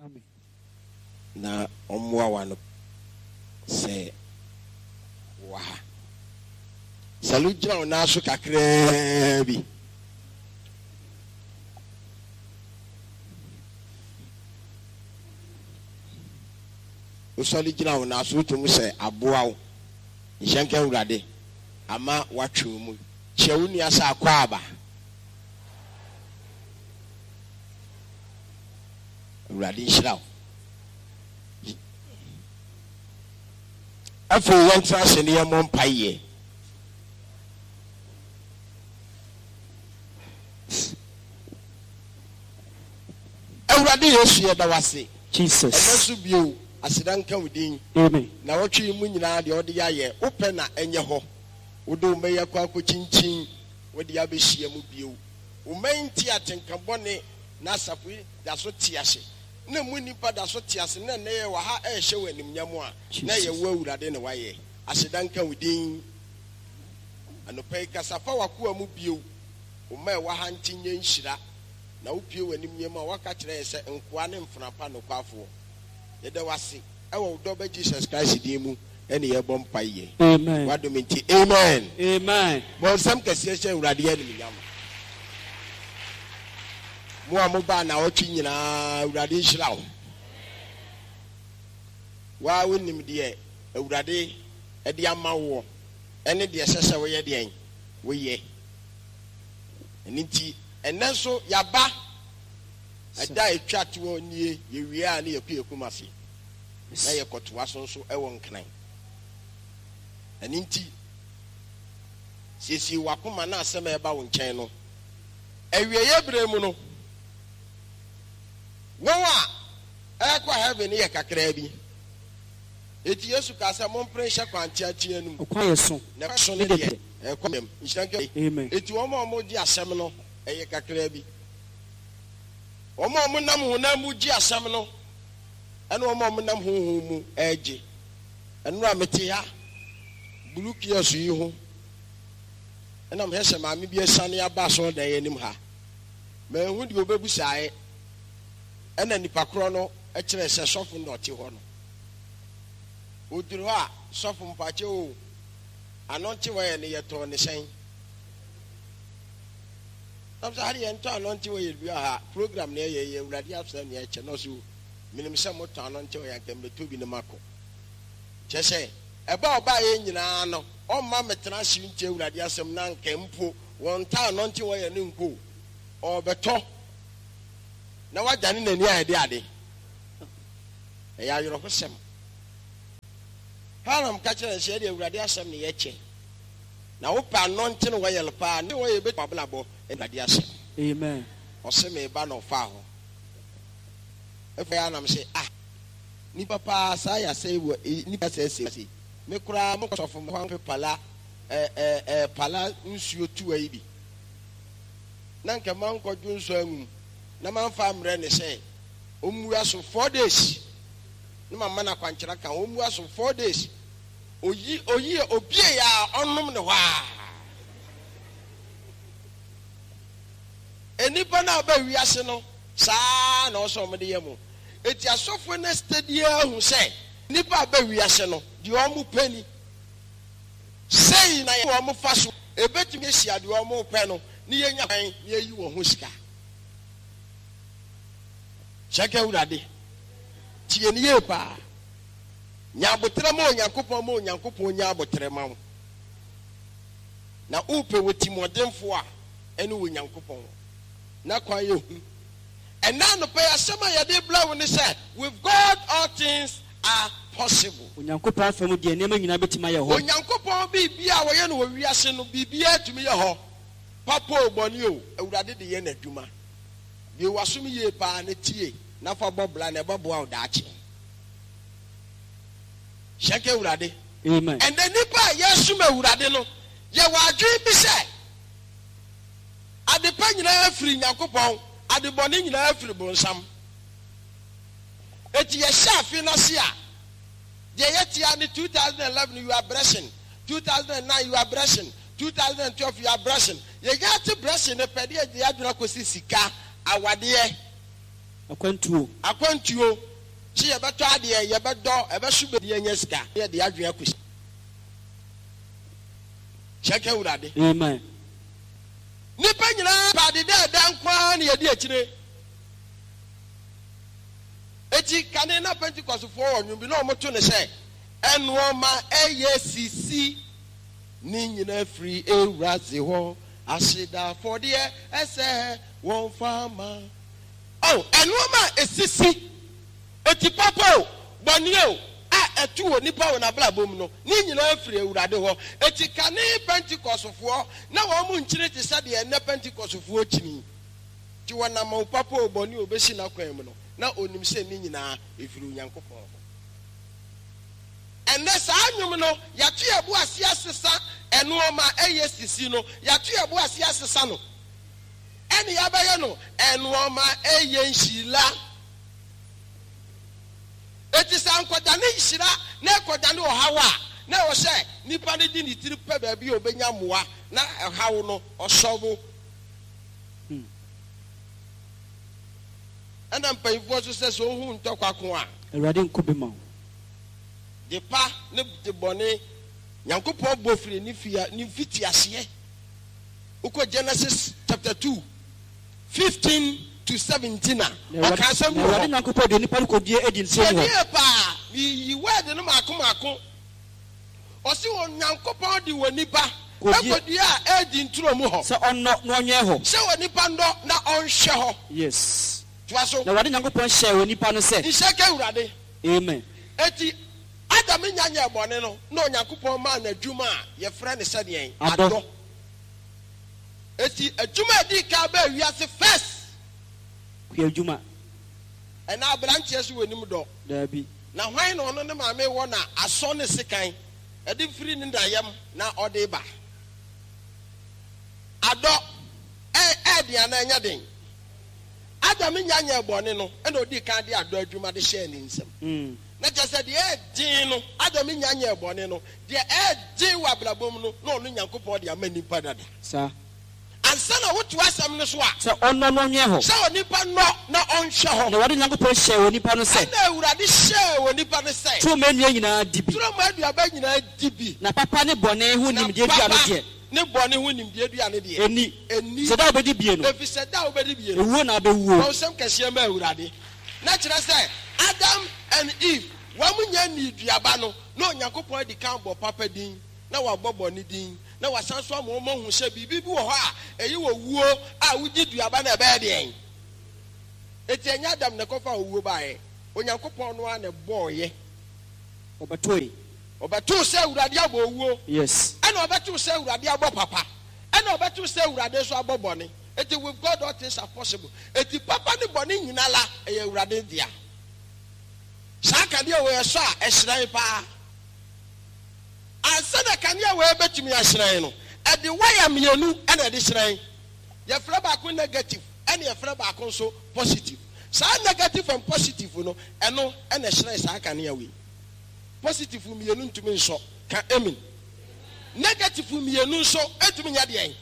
Amen. Na ɔmmoa w'ano sɛ wowɔ ha. Salu gyina wo nan so kakraa bi. Wosɔre gyina wo nan so wotumi sɛ aboa wo. Nhyɛ nka Awurade ama watwe wo mu. Kyia wo nua sɛ akwaaba. Awurade nhyira wo. Afei yɛntena ase ne yɛmmɔ mpaeɛ. Awurade Yesu yɛda wo ase. Jesus. Ɛnɛ nso bio aseda nka wo din. Amen. Na wɔtwe yi mu nyinaa deɛ ɔde yɛayɛ wopɛ na ɛnyɛ hɔ. Wode wo mma yi akɔ akɔkyinkyin wode abɛhyia mu bio. Wo mma yi nte atenka bɔne na asafo yi da so te ase, na emu nnipa da so te ase, na ɛnnɛ yɛwɔ ha rehyɛ wo animuonyam a, na ɛyɛ Jesus. wo Awurade na woayɛ. Aseda nka wo din. Anɔpa yi, kasa fa w'akoa mu bio. Wo mma a ɛwɔ ha nte nyɛ nhyira, na wopue w'animnyam a woaka kyerɛ yɛn sɛ nkoa ne mfena pa nokwafoɔ. Yɛda wo ase wɔ wo dɔ Ba Jesus Christ din mu ne yɛbɔ mpaeɛ. Amen. W'adom nti, amen. Amen. Bɔ nsɛm kɛseɛ hyɛ Awurade animuonyam. Mo a mobaa naawɔtwe nyinaa, Awurade nhyira wo. Wo ara wonim deɛ Awurade de ama woɔ ɛne deɛ ɛsɛ sɛ woyɛ deɛn? Woyɛ. Ɛno nti, ɛnnɛ nso yɛaba. Ɛda a ɛtwa toɔ nie, yɛwie a ne yɛkɔ yɛn Kumasi na yɛkɔtoa so nso wɔ Nkran. Ɛno nti, siesie w'akoma na asɛm a ɛba wo nkyɛn no, awieeɛ berɛ mu no, wɔn a ɛrekɔ heaven no yɛ kakraa bi. Enti Yesu kaa sɛ, Mompere nhyɛ kwan teatea no mu. Ɔkwan yɛ so, Na ɛkwan so no ne deɛ, dɛdɛ. ɛrekɔ dɛm. Nhyira nka Amen. Enti wɔn a wɔgye asɛm no, ɛyɛ kakraa bi. Wɔn a wɔnam honam mu gye asɛm no ne wɔn a wɔnam honhom mu regye. Nnora mete ha, blue kiosk yi ho, ɛna mehwɛ sɛ maame bi asiane aba asɔredan yi anim ha. Manhu deɛ ɔbɛbusaeɛ, ɛna nipa korɔ no kyerɛɛ sɛ sɔfo no na ɔte hɔ no. Ɔduru hɔ a, sɔfo mpakyɛ o, ano nte hɔ yɛ no yɛtɔn ne sɛn? Na sɛ ha deɛ yɛntɔ ano nte hɔ yɛ dua ha, program na ɛyɛ yɛ awurade asɛm na ɛkyɛ na ɔsɛ o, menim sɛ motɔ ano nte hɔ yɛ anka mebɛtɔ bi na makɔ. Kyerɛ sɛ, ɛba a ɔbaeɛ nyinaa no, ɔmma mmetena ase ntie Awurade asɛm na anka mpo wɔntaa nnɔnte hɔ yɛ no nkɔ o, ɔrebɛtɔ na wadane n'ani ayɛ de ade. Ɛyɛ awerɛhosɛm. Hiram ka kyerɛɛ no sɛ, Yɛde Awurade asɛm na yɛkyɛ, na wopɛ anɔnte no wɔyɛl paa ne wɔyɛ bɛtumi abrabɔ Awurade asɛm. Amen. Ɔse meba na ɔfaa hɔ. Afei a na mese ah. Nipa paa saa yɛ asɛe wɔ e nipa sɛɛ sɛe sei. Me koraa mo sɔfo mo kwan pala ɛ ɛ ɛ pala nsuo tuwa yi bi. Na nka mankɔ dwonsɔ angu mu na manfa ammrɛ no sɛ ɔmmua so 4 days na mamma no akwankyerɛ aka ho ɔmmua so 4 days oyi oyi obie a ɔnom ne hɔ a. Nnipa no a ba wiase no saa na ɔsɛ wɔn de yɛ mo. Enti asɔfoɔ no steady ara hu sɛ nnipa a ba wiase no, deɛ wɔn pɛ ni. Sei na wɔn fa so ɛbɛtumi ahyia deɛ wɔn pɛ no ne yɛnya kwan na yɛyi wɔn ho sika. Hyɛ Awurade. Tie no yie paa. Nya aboterɛ ma Onyankopɔn ma Onyankopɔn nya aboterɛ ma wo. Na wopɛ wɔ timɔdenfoɔ a ɛne Onyankopɔn. Na kwan yɛ hu. Ɛnnɛ anɔpa yi asɛm a yɛde rebrɛ wo ne sɛ, With God all things are possible. Onyankopɔn fam deɛ nneɛma nyinaa bɛtumi ayɛ hɔ. Onyankopɔn biribiara a ɔyɛ no wɔ wiase no, biribiara tumi yɛ hɔ. Papa o, bɔne o, Awurade de yɛ n'adwuma. Bue w'asom yie paa na tie na fa bɔ bra na ɛbɛboa wo daakye. Hyɛ nka Awurade. Amen. Ɛnnɛ nnipa a yɛresom Awurade no, yɛwɔ adwene bi sɛ adepa nyinaa firi Nyankopɔn, ade bɔne nyinaa firi bonsam. Enti yɛhyɛ afe no ase a, deɛ yɛte ara ne 2011 you are blessing, 2009 you are blessing, 2012 you are blessing. Yɛnya te blessing no pɛ de yɛde yɛn adwene akɔsi sika, awadeɛ. Akwantuo. Akwantuo. Sɛ yɛbɛtɔ adeɛ, yɛbɛdɔ, ɛbɛso bɛ yɛnya sika, na yɛde yɛn adwene akɔsi. Hyɛ nka Awurade. Amen. Nnipa nyinaa pɛ ade dɛɛdɛ nko ara na yɛdi akyire. Eti kane na Pentecostefoɔ wɔ nnwom bi na wɔto no sɛ, Ɛnoɔma ɛyɛ sisi ne nyina firi Ewuradze hɔ, aseda afɔdeɛ ɛsɛ wɔmfa ma. Oh, ɛnoɔma a esisi, eti papa o, bɔne o, a ɛto onipa wɔ n'abrabɔ mu no, ne nyinaa firi Awurade hɔ. Eti kane Pentecostefoɔ na wɔn nkyini te sɛ deɛ ɛnnɛ Pentecostefoɔ kyini. Nti wɔnam o papa o, bɔne o, bɛsi n'akwan mu no, na ɔnim sɛ ne nyinaa ɛfiri Onyankopɔn hɔ. Ɛnnɛ saa nnwom no, yɛato yɛn bo ase asesa ɛnoɔma a ɛyɛ sisi no, yɛato yɛn bo ase asesa no, ɛne yɛabɛyɛ no ɛnoɔma ɛyɛ nhyira. Enti sɛ ankɔdane nhyira na ɛkɔdane ɔhaw a, na ɛwɔ sɛ nipa no de ne tiri pɛ baabi a ɔbɛnya mmoa na ɛhaw no ɔsɔbo. Ɛna mpanyinfoɔ nso sɛ sɛ ohu ntɔkwa ko a. Awurade nko bi ma wo. De pa ne de bɔne Nyankopɔn bɔ firi ne fia ne mfitiaseɛ. Wokɔ Genesis chapter 2, 15 to 17 a, ɔka asɛm bi Na wɔ Awurade hɔ. Nyankopɔn de onipa no kɔdua Eden Tie turom nie hɔ. paa, meyiyi word no maako maako. Ɔse Onyankopɔn de onipa Kɔdua. kɔduaa Eden turo mu hɔ. Sɛ ɔnnɔ na ɔnwɛn hɔ. Sɛ onipa nnɔ na ɔnhwɛ hɔ. Yes. Toa so. Na Awurade Nyankopɔn hyɛɛ onipa no sɛ. Nhyɛ nka Awurade. Amen. Enti Adam nnya nyɛɛ bɔne no, na Onyankopɔn maa no adwuma a yɛfrɛ no sɛ deɛn? Adɔ. Adɔ. Enti adwuma a ɛdii kan baa wiase first. Kuadwuma. Ɛnna aberanteɛ so wɔnim dɔ. Daabi. Na hwan na ɔno ne maame wɔ na asɔ ne sekan de firi ne na yam na ɔde reba? Adɔ, ɛ, ɛyɛ den anaa ɛnyɛ den? Adam nnya nyɛɛ bɔne no, ɛnna ɔdii kan de adɔ adwuma de hyɛɛ ne nsam. Na kyerɛ sɛ, deɛ ɛyɛ den no, Adam nnya nyɛɛ bɔne no, deɛ ɛyɛ den wɔ abrabɔ mu no, na ɔno Nyankopɔn de ama nnipa dada. Saa. Ansa na woto asɛm no so a. Sɛ ɔnnɔ na ɔnwɛn hɔ. Sɛ onipa nnɔ na ɔnhwɛ hɔ. Na Awurade Nyankopɔn hyɛɛ onipa no sɛ. Ɛnna Awurade hyɛɛ onipa no sɛ. Turo mu nnua nyinaa di bi. Turo mu aduaba nyinaa di bi. Na papa ne bɔne ho nimdeɛ dua no deɛ. Na papa ne bɔne ho nimdeɛ dua no deɛ. Nni. Nni. Sɛ da a wobɛdi bie no. Ɛfiri sɛ da a wobɛdi bie no. Owuo na wobɛwuo. Bɔ nsɛm kɛseɛ ma Awurade. Na kyerɛ sɛ, Adam and Eve, wɔn nnya nnii duaba no, na Onyankopɔn adi kan abɔ papa din, na wabɔ bɔne din. Na wasan nso ama wɔahu sɛ biribi bi wɔ hɔ a ɛyɛ owuo a wogye duaba no a ɛbɛyɛ deɛn? Enti ɛnyɛ Adam na ɛkɔfaa owuo baeɛ. Onyankopɔn no ara na ɛbɔeɛ. Ɔbɛtoe. Ɔbɛtoo sɛ Awurade abɔ owuo. Yes. Ɛna ɔbɛtoo sɛ Awurade abɔ papa. Ɛna ɔbɛtoo sɛ Awurade nso abɔ bɔne. Enti with God all things are possible. Enti papa ne bɔne nyina la ɛyɛ Awurade dea. Saa kanea wei ɛsɔ a ɛhyerɛn paa. Ansa na kanea wei bɛtumi ahyerɛn no, ɛde waya mmienu na ɛde hyerɛn. Yɛfrɛ baako negative ɛna yɛfrɛ baako nso positive. Saa negative and positive no, ɛno na ɛhyerɛn saa kanea wei. Positive mmienu ntumi nsɔ. Ka amen. Negative mmienu nso ntumi nyɛ deɛn?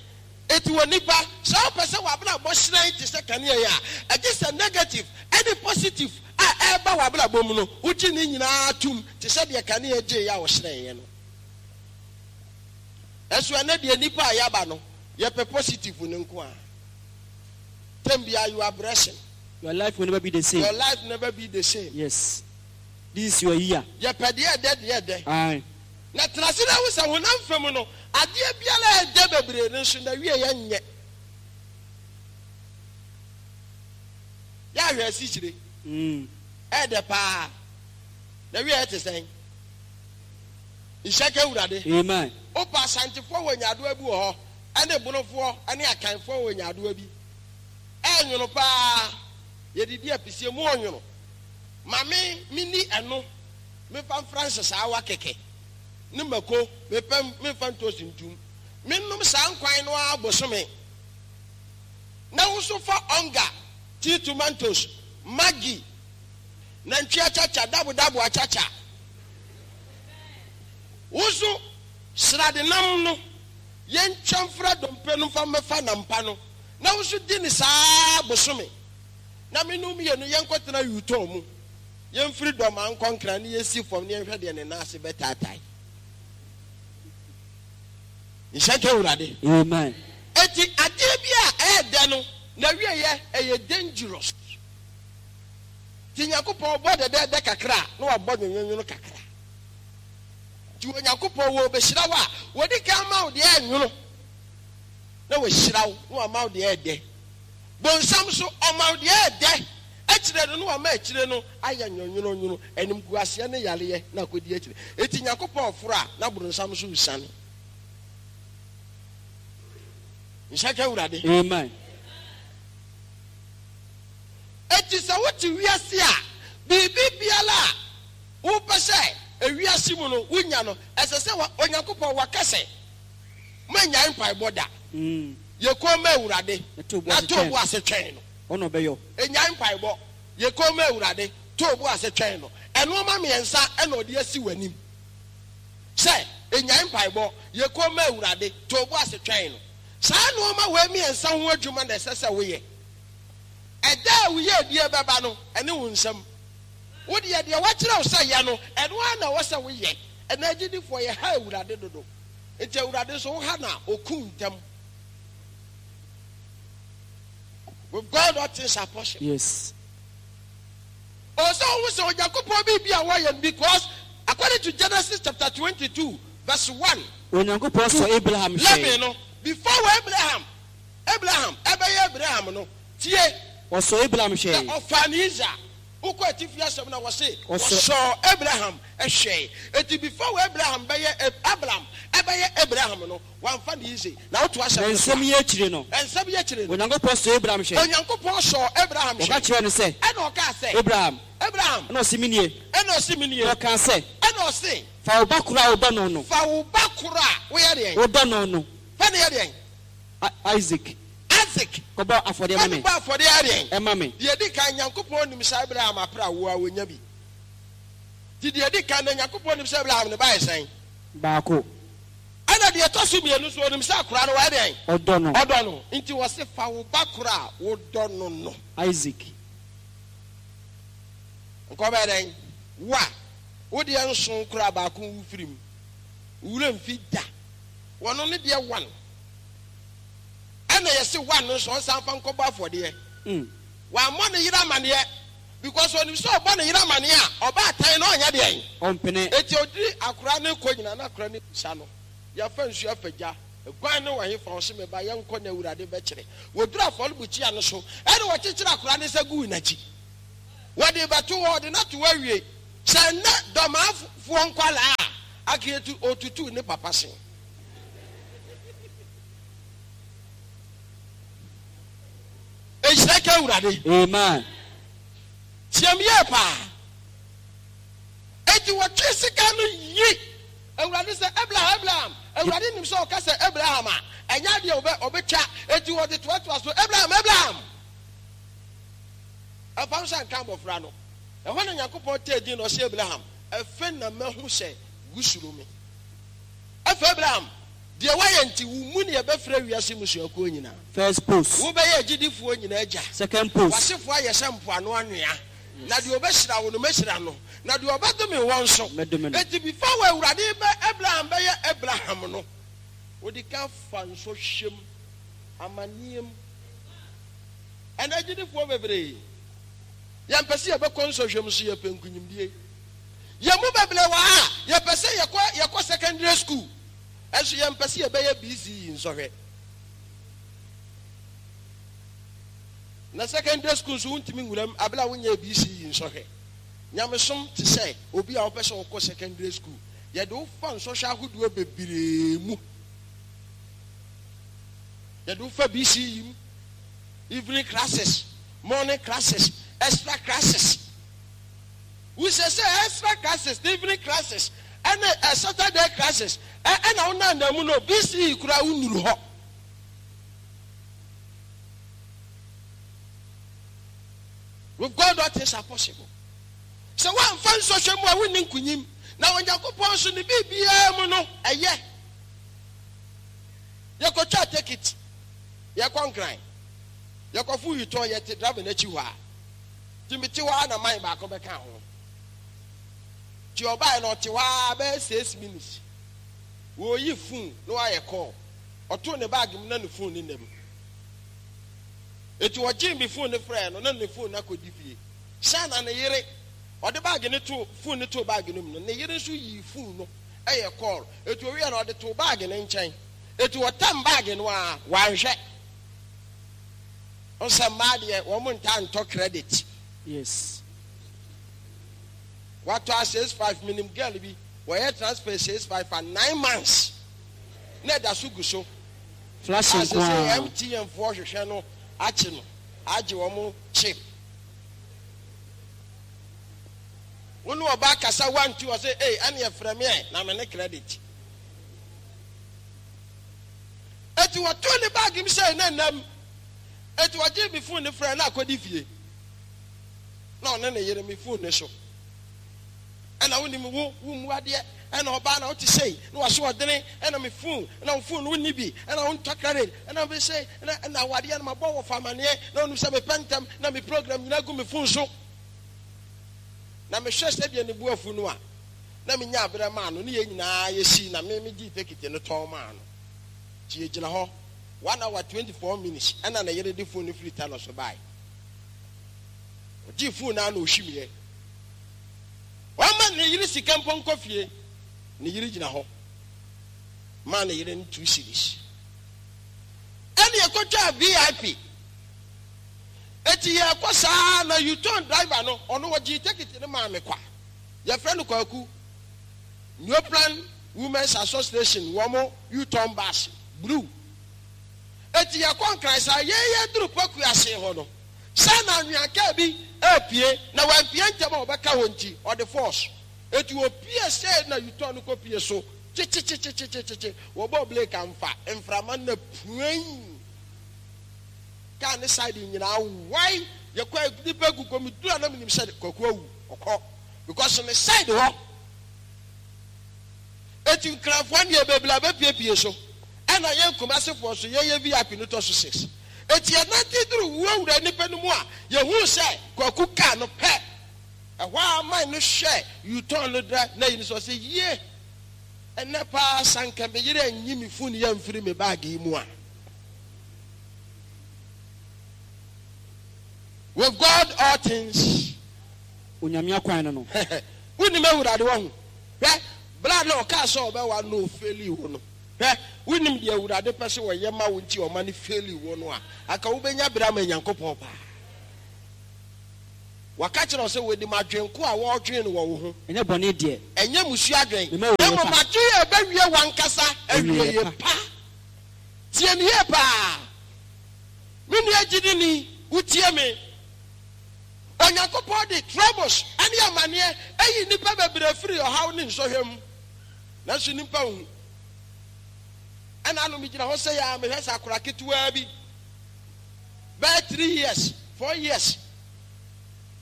Enti onipa, sɛ wopɛ sɛ w'abrabɔ hyerɛn te sɛ kanea yi a, ɛgye sɛ negative ne positive a ɛreba w'abrabɔ mu no, wogye ne nyinaa tom te sɛ deɛ kanea gyeeɛ a ɔhyerɛneeɛ no. Nanso ɛnnɛ deɛ nnipa a yɛaba no, yɛpɛ positive no nko ara. Tɛm biara you are blessing. Your life will never be the same. Your life never be the same. Yes. This is your year. Yɛpɛ deɛ ɛdɛ deɛ ɛdɛ. Aye. Na tena ase na hu sɛ honam fam no, adeɛ biara a ɛdɛ bebree no nso, n'awieeɛ nyɛ. Yɛ ahwɛ asikyire. Ɛyɛ dɛ paa. N'awieeɛ te sɛn? Nhyira nka Awurade. Amen. Wopɛ Asantefoɔ wɔ nyaadoa bi wɔ hɔ, ɛne Bonofoɔ ne Akanfoɔ wɔ nyaadoa bi. Ɛyɛ nwono paa. Yɛdidi apisie mu ɔnwono. Ma me menni ɛno. Memfa mfra nsesaawa kɛkɛ ne mako, mepɛ memfa ntoosi ntom. Mennom saa nkwan no ara bosome. Na wo nso fa ɔnga, tea tomatoes, maggi, nantwi akyakya, dabodabo akyakya. Wo nso srade nam no, yɛntwa mfra dompe no mfa mmɛfa nampa no, na wo nso di no saa ara bosome. Na me ne wo mmienu yɛnkɔtena U-turn mu, yɛmfiri Dɔmaa nkɔ Nkran ne yɛnsi fam ne yɛnhwɛ deɛ ne nan ase bɛtaatae. Nhyɛ nka Awurade. Amen. Enti adeɛ bi a ɛyɛ dɛ no, n'awieɛ ɛyɛ dangerous. Nti Nyankopɔn bɔ dɛdɛɛdɛ kakra a, na wabɔ nwonwonwono kakra. Nti Onyankopɔn wɔ ɔbɛhyira wo a, wɔdi kan ma wo deɛ ɛnwono, na wahyira wo, na wama wo deɛ ɛdɛ. Bonsam nso, ɔma wo deɛ ɛdɛ akyire no, na wama akyire no ayɛ nwonwononwono, animguaseɛ ne yareɛ na akɔdi akyire. Enti Nyankopɔn foro a, na bronsam nso resiane. Nhyɛ nka Awurade. Amen. Enti sɛ wote wiase a, biribi biara a wopɛ sɛ ewiase mu no wunya no, ɛsɛ sɛ wa, Onyankopɔn waka sɛ, Mannyae mpaebɔ da. Yɛ komm ma Awurade, Na to bo na ase to wo twɛn bo ase twɛn no. Ɔno ɔbɛyɔ. Nnyae mpaebɔ. Yɛ komm ma Awurade, to wo bo ase twɛn no. Nnoɔma mmiɛnsa na ɔde asi w'anim sɛ, Nnyae mpaebɔ, yɛ komm ma Awurade, to wo bo ase twɛn no. Saa nnoɔma wei mmiɛnsa ho adwuma na ɛsɛ sɛ woyɛ. Ɛda a wo yiedie bɛba no, ɛne wo nsam. Wo deɛ, deɛ wɔakyerɛ wo sɛ yɛ no, ɛno ara na ɛwɔ sɛ woyɛ. Ɛnnɛ agyidifoɔ, yɛha Awurade dodo. Enti Awurade nso, woha no a, ɔku wo ntɛm. With God all things are possible. Yes. Ɔwɔ sɛ wohu sɛ Onyankopɔn biribi a wɔyɛ no because according to Genesis chapter 22 verse 1 Onyankopɔn to sɔ Abraham 11 hwɛe. no, before wɔ Abraham, Abraham ɛbɛyɛ Abraham no, tie. Ɔsɔɔ Abraham Na hwɛe. ɔfaa ne Isaac. Wokɔ atifi asɛm no a, wɔse Ɔsɔ. wɔsɔɔ Abraham hwɛe. Enti before wɔ Abraham bɛyɛ Abram ɛbɛyɛ Abraham no, wamfa ne Isaac. Na woto Na asɛm no so nsɛm a. yi akyiri no. Nsɛm yi akyiri no. Onyankopɔn sɔɔ Abraham hwɛe. Onyankopɔn sɔɔ Abraham Ɔka hwɛe. kyerɛɛ no sɛ. Ɛna ɔkaa sɛ. Abraham. Abraham. Ɛna ɔse, Menie. Ɛna ɔse, Menie. Na ɔkaa sɛ. Ɛna ɔse. Fa wo ba koro a wodɔ no no. Fa wo ba koro a woyɛ deɛn? Wodɔ no no. Fa no yɛ deɛn? Isaac. Isaac. Kɔbɔ afɔdeɛ ma me. Fa no bɔ afɔdeɛ yɛ deɛn? Ɛma me. Deɛ ɛdi kan, Nyankopɔn nim sɛ Abraham apere awoɔ a ɔnya bi. Nti deɛ ɛdi kan no, Nyankopɔn nim sɛ Abraham ne ba yɛ sɛn? Baako. Ɛna deɛ ɛtɔ so mmienu nso, ɔnim sɛ akwadaa no wayɛ deɛn? Ɔdɔ no. Ɔdɔ no. Nti ɔse, fa wo ba koro a wodɔ no no. Isaac. Nka ɔbɛyɛ dɛn? Wo a, wo deɛ nson koraa baako wu firi mu. Wo werɛ mfi da. Wɔno ne deɛ one. Ɛna yɛse one no nso ɔnsan mfa nkɔbɔ afɔdeɛ. Wammɔ ne yere amaneɛ because ɔnim sɛ ɔbɔ ne yere amaneɛ a, ɔbaatan no ɔnyɛ deɛn? Ɔmpene. Enti ɔdiri akora no rekɔ nyinaa na akora no bisa no, yɛfa nsuo afa gya, guan no wɔ hefa? Ɔse me ba yɛnkɔ na Awurade bɛkyerɛ. Wɔduru afɔrebukyia no so ɛna wɔkyekyere akora no nsa guu n'akyi. Wɔde rebɛto hɔ, ɔde no ato hɔ awie. Sɛ nnɛ Dɔmaafoɔ nkwadaa a, anka yɛtu, ɔtutuu ne papa se. Nhyira nka Awurade. Amen. Tiam yie paa. Enti wɔtwee sika no yi Awurade sɛ, Abraham, Abraham. Awurade nim sɛ ɔka sɛ Abraham a, ɛnyɛ adeɛ a ɔbɛ, ɔbɛtwa. Enti wɔde toatoa so, Abraham, Abraham. Ɛmfa ho sɛ anka abɔfra no. Ɛhɔ na Nyankopɔn tee din na ɔse, Abraham, ɛfei na mahu sɛ wosuro me. Afei Abraham, deɛ woayɛ nti, wo mu na yɛbɛfrɛ wiase mmusuakuo nyinaa. First post. Wobɛyɛ agyidifoɔ nyinaa agya. Second post. W'asefoɔ ayɛ sɛ mpoano anwea. Na deɛ ɔbɛhyira wo no, mɛhyira no, na deɛ ɔbɛdome wo nso. Mɛdome no. Enti before wɔ Awurade bɛ Abraham bɛyɛ Abraham no, ɔdi kan fa nsɔhwɛ mu, amaneɛ mu. Ɛnnɛ agyidifoɔ bebree, yɛmpɛ sɛ yɛbɛkɔ nsɔhwɛ mu nso yɛpɛ nkunyimdie. Yɛn mu bebree wɔ ha a, yɛpɛ sɛ yɛkɔ yɛkɔ secondary school, nso yɛmpɛ sɛ yɛbɛyɛ BCE nsɔhwɛ. Na secondary school nso wontumi nwura mu abere a wonyɛɛ BCE nsɔhwɛ. Nyamesom te sɛ obi a ɔpɛ sɛ ɔkɔ secondary school. Yɛde wo fa nsɔhwɛ ahodoɔ bebree mu. Yɛde wo fa BCE mu, evening classes, morning classes, extra classes. Wosɛ sɛ extra classes, evening classes, ɛne Saturday classes, ɛna wo nanda mu no, BCE koraa wonnuru hɔ. With God all things are possible. Sɛ woamfa nsɔhwɛ mu a wonni nkunyim. Na Onyankopɔn nso ne biribiara mu no ɛyɛ. Yɛkɔtwa tekiti, yɛkɔ Nkran, yɛkɔfo Yutɔn, yɛte driver n'akyi hɔ a. Nti mete hɔ ara na man baako bɛkaa ho. Nti ɔbaeɛ no ɔte hɔ ara bɛyɛ 6 minutes. Wɔreyi phone na wayɛ call. Ɔtoo ne bag mu na ne phone no nna mu. Enti ɔgyee me phone no frɛɛ no na ne phone no akɔdi fie. Hyɛ na ne yere, ɔde bag no too, phone no too bag no mu no, ne yere nso yii phone no yɛ call. Enti ɔwieɛ no ɔde too bag no nkyɛn. Enti ɔtam bag no ara, wanhwɛ. Wohu sɛ mmaa deɛ wɔn ntaa ntɔ credit. Yes. Watɔ a 6 5, menim girl bi, wɔyɛ transfer 6 5 a 9 months na ɛda so gu so. Flash A nko sese ara. MTN foɔ hwehwɛ no akye no agye wɔn chip. Wo ne ɔbaa kasa 1 2, ɔse ei ɛneɛ frɛ me ɛ na me ne credit. Eti wɔtoo ne bag mu sɛ na nam. Eti ɔgyee me phone no frɛ na akɔdi fie. Na ɔne ne yere me phone no so. Ɛna wonim wo wo mmu adeɛ, ɛna ɔbaa na wote sei na waso ɔdene, ɛna me phone na wo phone no wonni bi, ɛna wontɔ credit, ɛna me sei, ɛna ɛna awadeɛ no mabɔ wɔ fa amaneɛ na wonim sɛ mepɛ ntɛm na me program nyinaa gu me phone so. Na mehwɛ sɛdeɛ ne bo afu no a, na menya aberɛ maa no ne yɛn nyinaa yɛsii na me megyee tekiti no tɔn maa no. Nti yɛgyina hɔ 1 hour 24 minutes ɛna ne yere de phone no firi ta no so bae. Ɔgyee phone no a na ɔhwimiɛ. Wama ne yere sika mpo nkɔ fie. Ne yere gyina hɔ maa ne yere no 2 cedis. Ɛne ɛkɔtwaa VIP. Eti yɛkɔ saa na U-turn driver no, ɔno wɔgyee tekiti no maa me kwa. Yɛfrɛ no Kwaku. Neoplan Women's Association wɔn U-turn bus blue. Eti yɛkɔ Nkran saa, yɛn yɛduru Pokuase hɔ no, sɛ na anwea kaa bi repue na wampue ntɛm a ɔbɛka hɔ nti ɔde force. Eti opue sɛ na U-turn no kɔpue so kyekyekyekyekyekye. Wɔbɔɔ brake amfa, mframa no na pueii. Kaa ne side nyinaa wae. Yɛkɔ nipa gu kɔ meduru a na menim sɛ Kwaku awu ɔkɔ because ne side hɔ. Eti Nkranfoɔ deɛ bebree abɛpiepie so, ɛna yɛn Kumasefoɔ nso yɛyɛ VIP no tɔ so six. Eti yɛnante duru wurawura nipa no mu a, yɛhuu sɛ Kwaku kaa no pɛ. Ɛhɔ a man no hwɛ U-turn no dɛ na yi no sɛ ɔsɛ yie. Ɛnɛ paa sanka me yere anyi me phone yi amfiri me bag yi mu a. With God all things. Onyame akwan no no. Wonim Awurade wahu. Hwɛ, bra na ɔkaa sɛ ɔbɛwa no ofeeli wo no. Hwɛ, wonim deɛ Awurade pɛ sɛ ɔyɛ ma wo nti ɔma no feeli wo no a, anka wobɛnya berɛ ama Nyankopɔn paa. Waka kyerɛ wo sɛ wɔnim adwen ko a wɔredwen no wɔ wo ho. Ɛnyɛ bɔne deɛ. Ɛnyɛ mmusuo adwen. Mema wo Na yɛ mmom pa. adwen a ɛbɛwie w'ankasa Awieeɛ awieeɛ pa. pa. Tie me yie paa. Me nua gyidini, wotie me. Onyankopɔn de troubles ne amaneɛ ayi nnipa bebree firi ɔhaw ne nsɔhwɛ mu. Nanso nnipa nhu. Ɛna ano megyina hɔ sɛ yɛ a mehwɛ sɛ akora ketewaa bi bɛyɛ 3 years, 4 years,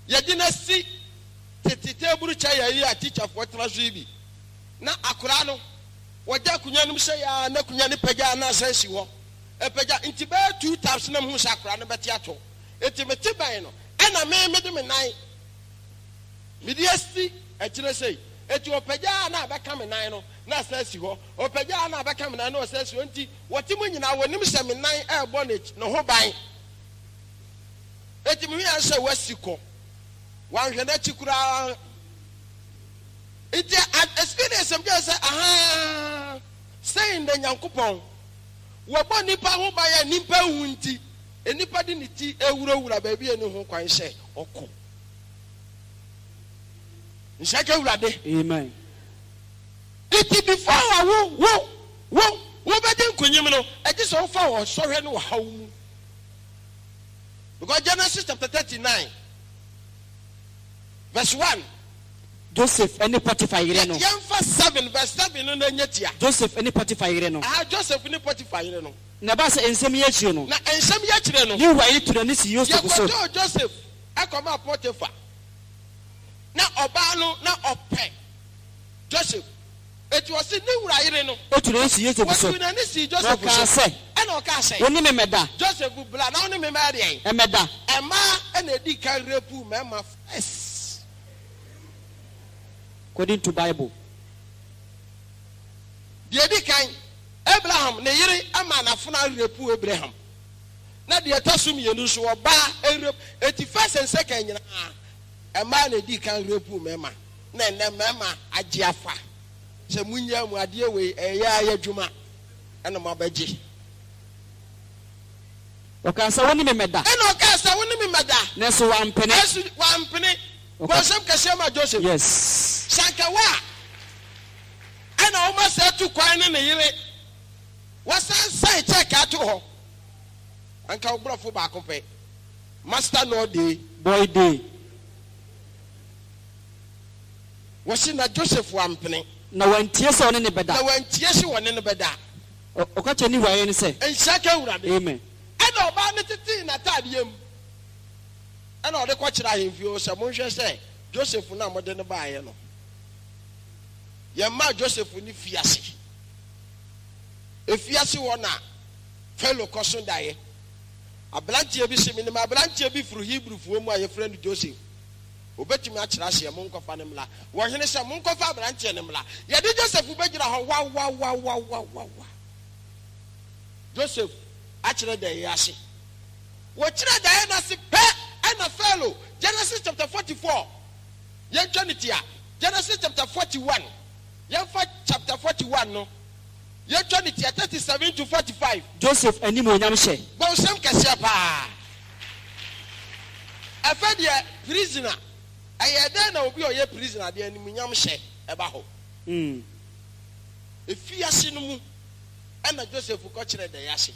yɛde no asi tete table kyɛ yɛ yi a tikyafoɔ tena so yi bi, na akora no wɔgya akonnwa no mu sɛ yɛ a na akonnwa no pagya na asan si hɔ ɛpagya, nti bɛyɛ two times na muhu sɛ akora no bɛte ato. Nti mete bɛn no ɛna me mede me nan mede asi akyire sei, eti ɔpagya a na abɛka me nan no na asan asi hɔ, ɔpagya a na abɛka me nan na ɔsan asi hɔ. Nti wɔte mu nyinaa wɔnim sɛ me nan ɛrebɔ ne ho ban. Eti mehu yɛn sɛ wasi kɔ, wanhwɛ n'akyi koraa. Nti experience m kyerɛ sɛ ahaa sɛn na Nyankopɔn wɔbɔ nipa ho ban a nipa hu, nti nipa de ne ti ewurawura baabi a ɛni ho kwan sɛ ɔkɔ. Nhyɛ Awurade. Amen. Nti before a wo wobɛdi nkunyim no, ɛgye sɛ wofa wɔ sɔhwɛ ne ɔhaw mu, because Genesis chapter 39 verse 1. Joseph ne Potiphar yere no. Yɛmfa 7 verse 7 no na ɛnyɛ tia. Joseph ne Potiphar yere no. Aha, Joseph ne Potiphar yere no. Na ɛbaa sɛ nsɛm yi akyire no, Na nsɛm yi akyire no, ne wura yere tu n'ani sii Yosef so. Yɛkɔtɔɔ Joseph ɛkɔmaa Potiphar. Na ɔbaa no na ɔpɛ Joseph. Eti ɔse ne wura yere no etu n'ani sii Yosef so. Wɔtu n'ani sii Na Joseph ɔkaa so. sɛ, Ɛna ɔkaa sɛ. Wo ne me mmɛda. Joseph, bra na wo ne me mmɛyɛ deɛn? Mmɛda. Mmaa na ɛdii kan rapuu mmarima first. According to Bible. Deɛ ɛdi kan, Abraham ne yere maa n'afenaa rapuu Abraham. Na deɛ ɛtɔ so mmienu nso, ɔbaa rape. Enti first and second nyinaa, mmaa na ɛdii kan rapuu mmarima. Na ɛnnɛ mmarima agye afa sɛ monnyaa mu adeɛ wei, ɛyɛ ara adwuma na moabɛgye. Ɔkaa sɛ, Wo ne me mmɛda. Ɛnna ɔkaa sɛ, Wo ne me mmɛda. Nanso wampene. Nanso wampene. Bɔ nsɛm kɛseɛ ma Joseph. Yes. Sɛ anka wo a, ɛna woma saa tu kwan ne ne yere, wasan sign check ato hɔ. Anka wo borɔfo baako pɛ. Master no day. Boy day. Wɔse na Joseph wampene. Na wantie sɛ ɔne no bɛda. Na wantie sɛ ɔne no bɛda. Ɔka kyerɛɛ ne wura yere no sɛ. Nhyira nka Awurade. Amen. Ɛnna ɔbaa no tetee n'ataadeɛ mu, ɛnna ɔde kɔkyerɛɛ ahemfie hɔ sɛ, Monhwɛ sɛ Joseph no a mode no baeɛ no, yɛmmaa Joseph no fii ase. Efiase hɔ na Farao kɔso daeɛ. Aberanteɛ bi se, Menim aberanteɛ bi firi Hebrifoɔ mu a wɔfrɛ no Joseph. Ɔbɛtumi akyerɛ aseɛ, monkɔfa no mmra. Ɔhene sɛ, Monkɔfa aberanteɛ no mmra. Yɛde Joseph bɛgyina hɔ wawawawawawa. Joseph akyerɛ daeɛ ase. Wɔkyerɛɛ daeɛ no ase pɛ ɛna Farao, Genesis chapter 44, yɛntwa no tia, Genesis chapter 41, yɛmfa chapter 41 no, yɛntwa no tia, 37 to 45. Joseph animuonyam hyɛ. Bɔ nsɛm kɛseɛ paa. Ɛfɛ deɛ prisoner, ɛyɛ dɛn na obi a ɔyɛ prisoner deɛ animuonyam hyɛ ɛba hɔ? Efiase no mu ɛna Joseph kɔkyerɛɛ daeɛ ase.